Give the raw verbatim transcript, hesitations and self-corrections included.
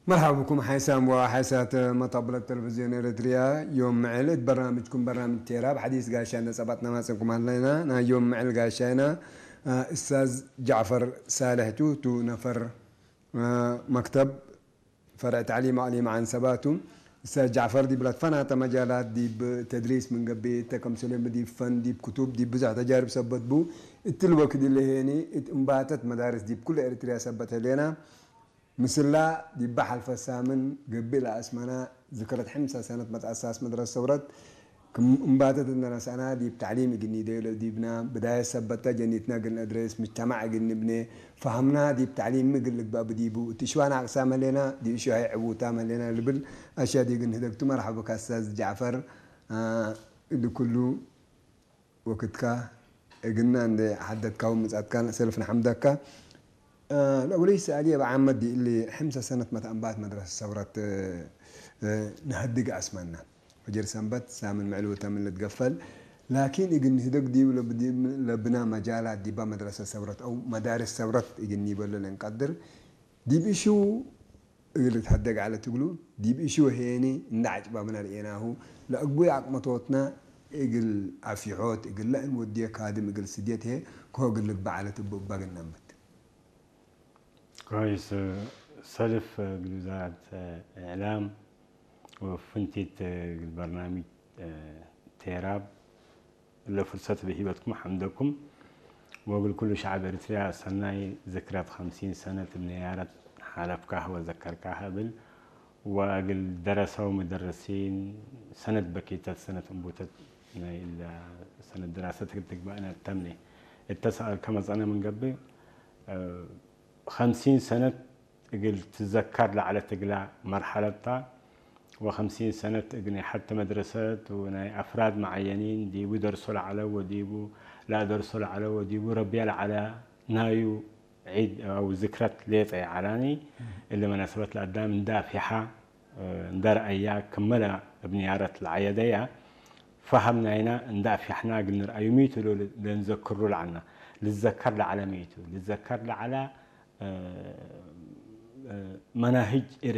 መርሐባ ብኩም ሓይሳም ወሓይሳት መጣብለት ተለቪዝዮን ኤረትርያ። ዮም ምዕል እት በርናምጅኩም በርናምጅ ቴራብ ሐዲስ ጋሻነ ጸባጥና ማጽንኩም ሀለና። ናይ ዮም ምዕል ጋሻይና፣ አ፣ እስታዝ ጃዕፈር ሳልሕ ቱ፣ ቱ ነፈር፣ አ፣ መክተብ ፈርዕ ተዕሊም አቅሊም ዐንሰባ ቱ። እስታዝ ጃዕፈር ዲብ ለትፈናተ መጃላት ዲብ ተድሪስ ምን ገብእ እተ፣ ከምሰሌ ዲብ ፈን፣ ዲብ ክቱብ፣ ዲብ ብዞሕ ተጃርብ ሰበት ቡ። እትሊ ወክድ እሊ ሄኒ እት እምባተት መዳርስ ዲብ ኩለ ኤረትርያ ሰበት ህሌና። ምስላ ዲበ ሐልፈ ሳምን ገብእ ለአስመና ዝክረት ሕምሰ ሰነት መትአሳስ መድረሰ ሰውረት ክም እምባተት እንደ ነስአና ዲብ ተዕሊም እግል ኒደዩ ለዲብና ብዳየት ሰበተ ጀኒትና እግል ነአድሬስ፣ ምጅተማዕ እግል ንብኔ፣ ፈሀምና ዲብ ተዕሊም እግል ልግባእ ብዲቡ፣ እት እሽዋን አቅሳም ህሌና፣ ዲብ እሽዋይ ዕቡታም ህሌና ልብል አሻዲ እግል ንህደግቱ። መርሐበ ካስታዝ ጃዕፈር፣ አ፣ እሊ ኩሉ ወክድካ እግልና እንዴ ሐደትካሁ ምጻትካን ሰልፍ ነሐምደካ። እ፣ ለአወለይ ሰኣልዬ እብ ዓመት ዲብ እሊ ሕምሰ ሰነት መትአንባት መድረሰ ሰውረት፣ እ፣ ነሀድግ አስመና። ፈጅር ሰንበት ሳምን ምዕል ወተምን ልትገፈል። ላኪን እግል ንህደግ ዲብ ለብ-፣ ዲብ ለብና መጃላት ዲባ መድረሰ ሰውረት አው መዳርስ ሰውረት እግል ኒበሎ ለእንቀድር። ዲብ እሹ እግል ልትሀደግ ዐለት እግሉ፣ ዲብ እሹ ሄኒ እንደ ዐጭባብና ርኤናሁ፣ ለአግቡይ አቅመቶትና እግል አፊሖት እግል ለእንወድየ ካድም እግል ስድየት ህዬ ከሆ እግል ልግበእ ዐለት እቡ እባ እግል ነምት። ኮይስ፣ ሰልፍ እግል ውዛረት እዕላም ወፍንቲት እግል በርናምጅ ቴራብ፣ እለ ፍርሰት እብ ሂበትኩም ሐምደኩም። ወእግል ኩሉ ሸዐብ ኤሪትርያ ሰናይ ዝክረት ሐምሲን ሰነት እብ ነያረት ሓለፍካህ ወዘከርካህ እብል። ወእግል ደረሰው መደረሲን ሰነት በኪተት ሰነት እንቡተት ናይ እለ ሰነት ድራሰት እግል ትግበአነ ተምኔ እተ ሰኣልከ መጸነ ምን ገብእ፣ ሐምሲን ሰነት እግል ትዘከር ለዐለት እግላ መርሐለት ተ። ወሐምሲን ሰነት እግል ናይ ሐቲ መድረሰት ወናይ አፍራድ መዓየኒን ዲቡ ደርሶ ለዐለ ወዲቡ ለአደርሶ ለዐለ ወዲቡ ረብየ ለዐለ ናዩ ዒድ አው ዝክረት ሌጠ ይዐላኒ። እሊ መናሰበት ለአዳም እንደ አፍየሐ፣ እንደ ረአያ፣ ክመለ እብ ንያረት ለዐየደያ ፈሀም ናይና እንደ አፍየሕና እግል ንርአዩ ሚቱ ለንዘክሩ ለዐልና። ልዘከር ለዐለ ሚቱ ልዘከር ለዐለ እ፣ እ፣ መናህጅ